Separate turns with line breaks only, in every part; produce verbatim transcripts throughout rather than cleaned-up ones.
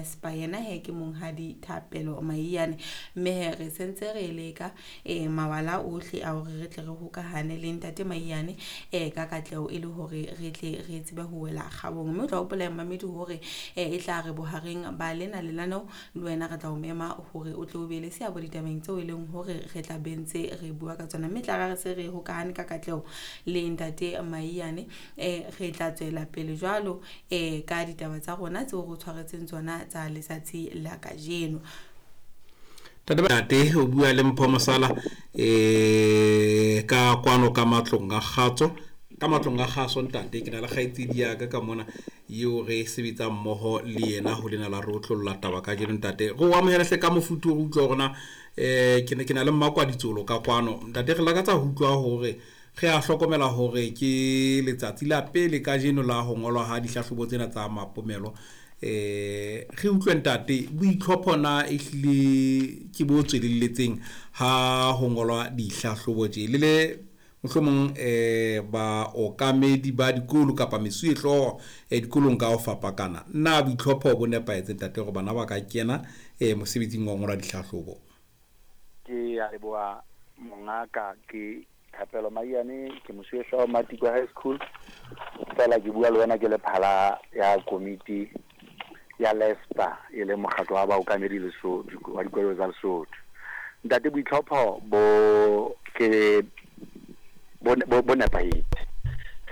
Lespa. Yena he ke monghadi Thapelo Maiyane, mme he re sentse re leka eh mawala ohle a hore re tle re hokahane le ntate Maiyane eh ka katleho e le hore re tle re tsebe ho wela kgabong. Mme o tla hopola mamedi hore eh e tla re bohareng ba lena lenaneo le wena re tla o mema hore o tle o be le seabo ditabeng tseo e leng hore re tla bentse re bua ka tsona. Mme tla re se re hokahane ka katleho le ntate Maiyane, eh re tla tswela pele jwalo eh ka ditaba tsa rona tseo re tshwaretseng tsona tsa letsatsi la kajeno.
Ntate o bua le Mpho Mosala eh ka kwano ka matlong a kgatso, ka matlong a kgaso ntate. Ke na le kgaitsedi ya ka ka mona eo re sebetsang mmoho le yena ho lena la re otlolla taba kajeno ntate. Re o amohele hle ka mofuthu, re utlwa hore na eh ke ne ke na le mmakwaditsolo ka kwano ntate. Re lakatsa ho utlwa hore re a hlokomela hore ke letsatsi la pele kajeno la ho ngolwa ha dihlahlobo tsena tsa mapomelo. Eh re utlwe ntate, boitlhopho na ehlile ke bo tswelelletseng ha ho ngolwa dihlahlobo tje le le mohlomong eh baokamedi ba dikolo kapa mesuwehlooho eh dikolong ka ho fapakana? Na boitlhopho bo nepahetse ntate hore bana ba ka kena eh mosebetsing wa ho ngola dihlahlobo?
Ke a leboha mongaka. Ke Thapelo Maiyane, ke mosuwehlooho Matikwe High School. Fela ke bua le wena ke le phala ya komiti ya Lespa, e leng mokgatlo wa baokamedi Lesotho wa dikolo tsa Lesotho. Ntate, boitlhopho bo ke bo bo nepahetse.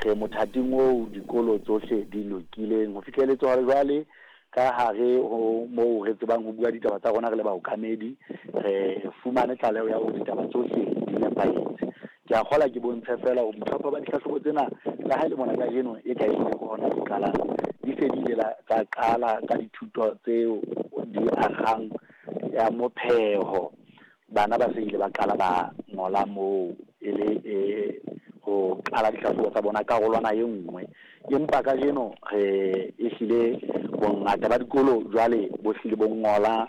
Re mothating oo dikolo tsohle di lokileng ho fihlelletse hore jwale ka hare ho moo re tsebang ho bua ditaba tsa rona re le baokamedi, re fumane tlaleho ya hore ditaba tsohle di nepahetse. Ke a kgola ke bontshe fela hore boitlhopho ba dihlahlobo tsena le ha e le mona kajeno e ka ehlile ke hona di qalang, di se di ile tsa qala ka dithuto tseo di akgang ya mopheho. Bana ba se ile ba qala ba ngola moo e le e ho qala dihlahlobo tsa bona karolwana e nngwe. Empa kajeno re ehlile bongata ba dikolo jwale bo hlile bo ngola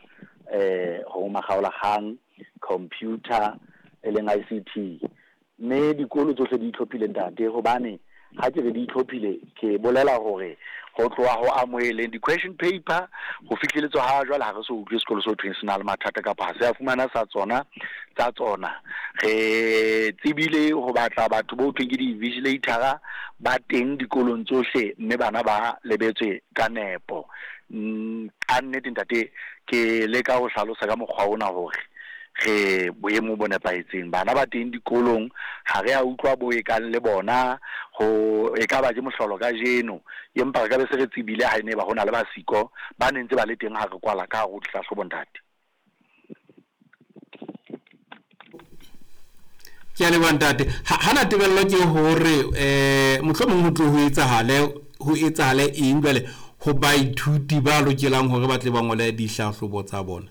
eh ho makgaolakgang computer e leng I C T. Mme dikolo tsohle di itlhophile ntate, hobane ha ke re di itlhophile ke bolela hore ho tloha ho amoheleng di-question paper ho fihleletswa ha jwale ha re so utlwe sekolo se thweng se na le mathata kapa ha se a fumana sa tsona tsa tsona. Re tsebile ho batla batho bo thweng ke di-vigilator ba teng dikolong tsohle, mme bana ba lebetswe ka nepo. Ka nnete ntate, ke leka ho hlalosa ka mokgwa ona hore re boemo bo nepahetseng. Bana ba teng dikolong ha re a utlwa bo e kang le bona ho e ka ba ke mohlolo kajeno, empa re ka be se re tsebile ha ene ba hona le basiko ba ne ntse ba le teng ha re kwala ka hare ho dihlahlobo ntate.
Ke a leboha ntate. Ha na tebello ke hore eh mohlomong ho tlo ho etsahale ho etsahale eng jwale ho baithuti ba lokelang hore ba tle ba ngole dihlahlobo tsa bona?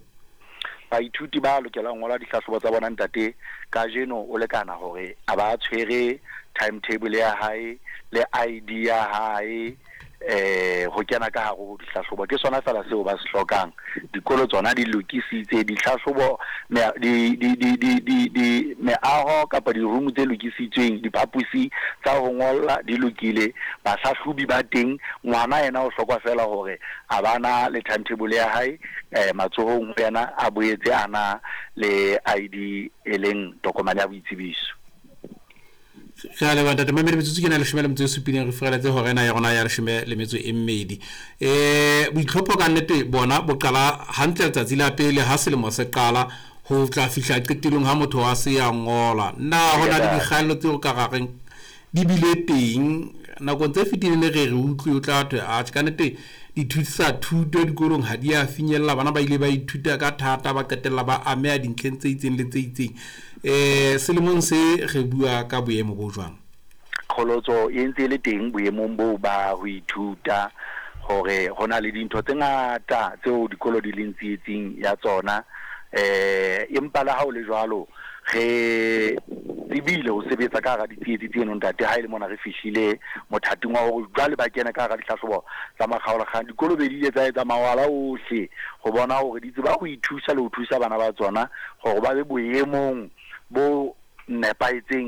Baithuti ba lokelang ngola dihlahlobo tsa bona ntate, kajeno o lekana hore a ba tshwere timetable ya hae le I D ya hae eh ho kena ka hare ho dihlahlobo. Ke sona fela seo ba se hlokang. Dikolo tsona di lokisitse dihlahlobo, di di di di di di meaho kapa di-room tse lokisitsweng, diphaposi tsa ho ngolla di lokile, bahlahlobi ba teng. Ngwana yena o hloka fela hore a bana le timetable ya hae eh matsohong ho yena, a boetse a na le I D e leng tokomane ya boitsebiso.
Re a leboha ntate. Mamedi, metsotso ke na leshome le metso e supileng, re furaletse hora ena ya rona ya leshome le metso e mmedi. Eh boitlhopho ka nnete bona bo qala hantle letsatsi la pele ha selemo se qala ho tla fihla qetellong ha motho a se a ngola. Na ho na le dikgaello tseo ka rareng di bile teng nakong tse fetileng? Re re utlwe o tla thwe atjhe ka nnete dithusa thuto dikolong ha di a finyella, bana ba ile ba ithuta ka thata ba qetella ba ameha dintlheng tse itseng le tse itseng. Eh selemong se re bua ka boemo bo jwang?
Qholotso e ntse e le teng boemong boo ba ho ithuta, hore ho na le dintho tse ngata tseo dikolo di leng tsietsing ya tsona. Eh empa le ha ho le jwalo re tsebile ho sebetsa ka hara ditsietsi tseno ntate. Ha e le mona re fihlile mothating wa hore jwale ba kene ka hara dihlahlobo tsa makgaolakgang, dikolo be di ile tsa etsa mawala ohle ho bona hore di tseba ho ithusa le ho thusa bana ba tsona hore ba be boemong bo nepahetseng.